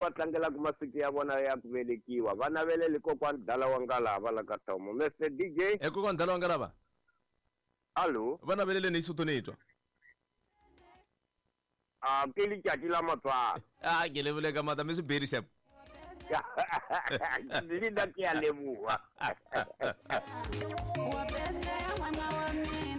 Va tlangelaka masiku ya vona ya ku velekiwa va navelele kokwani Dala wa Ngalava la ka Thomo. Mister DJ. E kokwani Dala wa Ngalava. Allo. Va naveleleni hi Sotho ni twa. A ke letšatši la matswalo. A ke lebole ka mata mi swi beri xep. Le nna ke a leboha.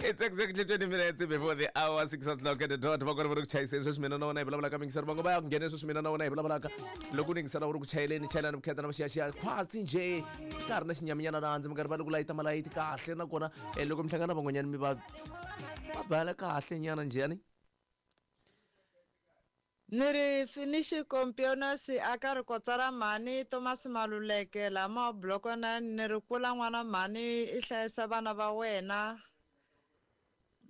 It's exactly 20 minutes before the hour 6 o'clock at the dot. Va kona va ri ku chayiseni sweswi mina na wena hi vulavulaka mingiselo vango va ya ku nghene sweswi mina na wena hi vulavulaka loko u ningisela u ri ku chayeleni chayelani vukheta na vuxiyaxiya khwatsi njhe ka ha ri na xinyaminyana laha ndzi mi karhi va ri ku layita malayiti kahle nakona eh, loko mi hlangana van'wanyana mi va va bala kahle nyana njhani Ni ri Finishi Kompionosi a ka ri kotsa ra mhani Tomasi Maluleke lama wa Bloko 9 ni ri kula n'wana mhani i hlayisa vana va wena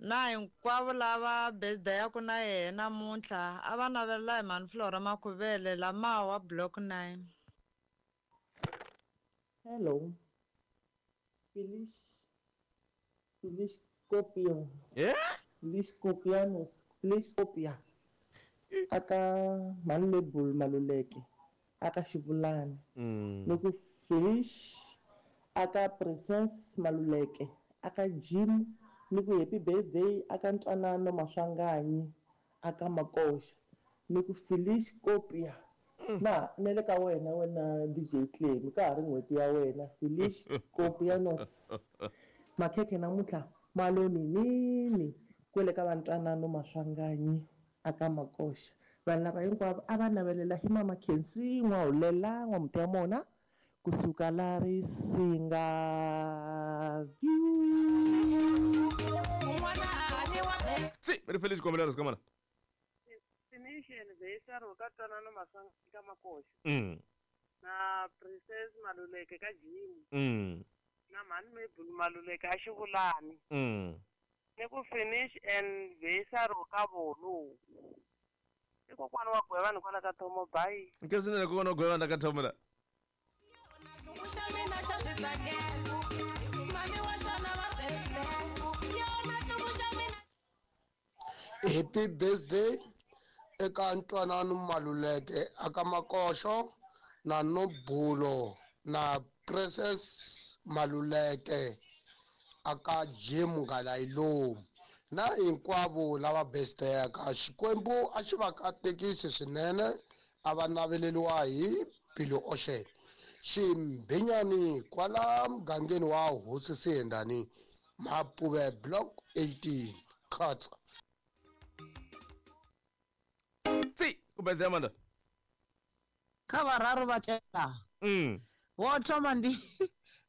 na hinkwavo lava birthday-aku na yehe namuntlha a va navelela hi mhani Flora Makhuvele lama wa Block 9. Hello. Feliz Feliz Copios. Yeah? Feliz Copianos. Feliz Copia. Aka Malebul Maluleke. Aka Xivulani. Ni ku Feliz aka Presence Maluleke. Aka Jim ni ku happy birthday aka Ntwanano Maswanganyi. Aka Makoxa ni ku Feliz Copia. Na na le ka wena wena DJ Clemy ka ha ri n'hweti ya wena Feliz Copianos. Makhekhe namuntlha ma lo ninini kwele ka va Ntwanano Maswanganyi aka Makoxa. Vanhu lava hinkwavo a va navelela hi Mama Khensi N'wahulela N'wamutiyamona kusuka la Risinga. Tsi, ri fele xikombelo ri sikamana. Destination Veisaro ka Twanano Maswanganyi ka Makoxa. Na Princess Maluleke ka Jim. Na Mhani Mabel Maluleke a Xivulani. Ni ku finish and Veisaro ka Volo. I kokwana wa Gwevani kwala ka Thomo, bye. Nkhensinene kokwana wa Gwevani la ka Thomo la. Happy birthday eka Ntwanano Maluleke aka Makoxo na Nobulo na Princess Maluleke aka Jim Ngalayilomu na hinkwavo lava birthday-aka. Xikwembu a xi va katekisi swinene, a va naveleriwa hi Billy Ocean. Ximbhinyani kwala mugangeni wa Hosi Siyendani, Mapuve Block 18, Khatsa. Tsi, ku birthday Amanda. Kha vhararu vha tevhelaho. Wo thoma ndi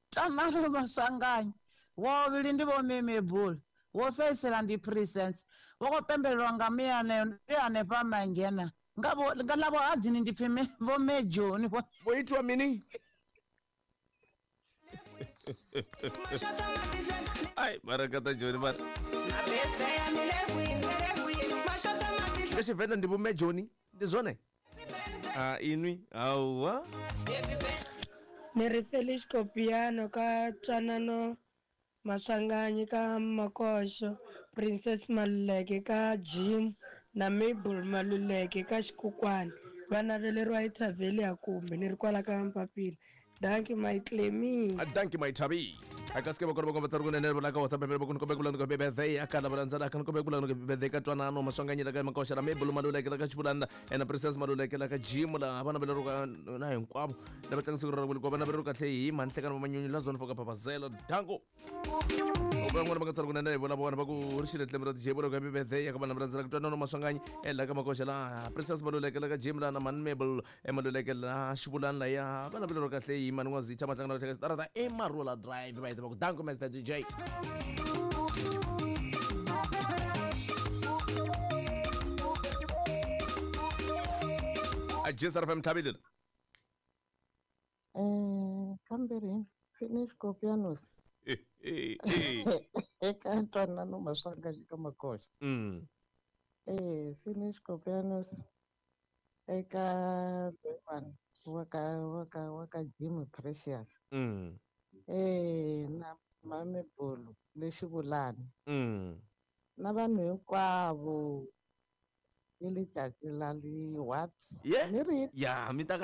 Tamalo Maswanganyi, wo vhuvhili ndi Vho Meme Bull, wo fhedzisela ndi Presence. Vho khou pembelelwa nga mianeyo ndi hanefha Mangena. Nga vho nga ḽa vhuhadzini ndi pfi Vho Mme Joni. Vho itwa mini? Ai, mara kata Joni mara. Nga Tshivenḓa ndi Vho Mme Joni, ndi zwone? A inwi hauwa. Ni ri Felix Kopiano ka Twanano Maswanganyi ka Makoxo, Princess Maluleke ka Jim na Mabel Maluleke ka Xikukwani. Va naveleriwa hi Thavelia kumbe ni ri kwala ka Mpapila. Dankie my Clemy. Dankie my Thabi. Akaske bakona bakona batsari kunene la ka WhatsApp bebe bakona kombe kulana ko bebe they akala balandzela akana kombe kulana ko bebe they ka twanano maswanganyi la ka Makoxa la Mabel Maluleke la ka Xivulana ena Princess Maluleke la ka Jim la vana veleriwa na hinkwavo lava tlanga siku ra ku va naveleriwa kahle hi mhani Hlekani va Manyunyu la Zone 4 ka Papazela Danko. Van'wana va nga tsari kunene hi vona vona va ku ri xile tlhelo ra DJ vona ku happy birthday ya ka vanhu va landzela ku twanano Maswanganyi la ka Makoxa la Princess Maluleke la ka Jim la na Mhani Mabel Maluleke la Xivulani la ya va naveleriwa kahle hi Mhani N'wazitha Matlanga na Tlhekesa Tarata i Marula Drive va heta va ku danko Mr DJ. A JSR FM Tlhabile. Kambirhi Finish Kopianos. Eka Ntwanano Maswanganyi ka Makoxa. Finish Kopianos eka Loyiwani wa ka wa ka wa ka Jim Precious. Na Mame Bolo le Xivulani. Na vanhu hinkwavo Ke letšatši la le what? Ye Ni ri ya mi ta.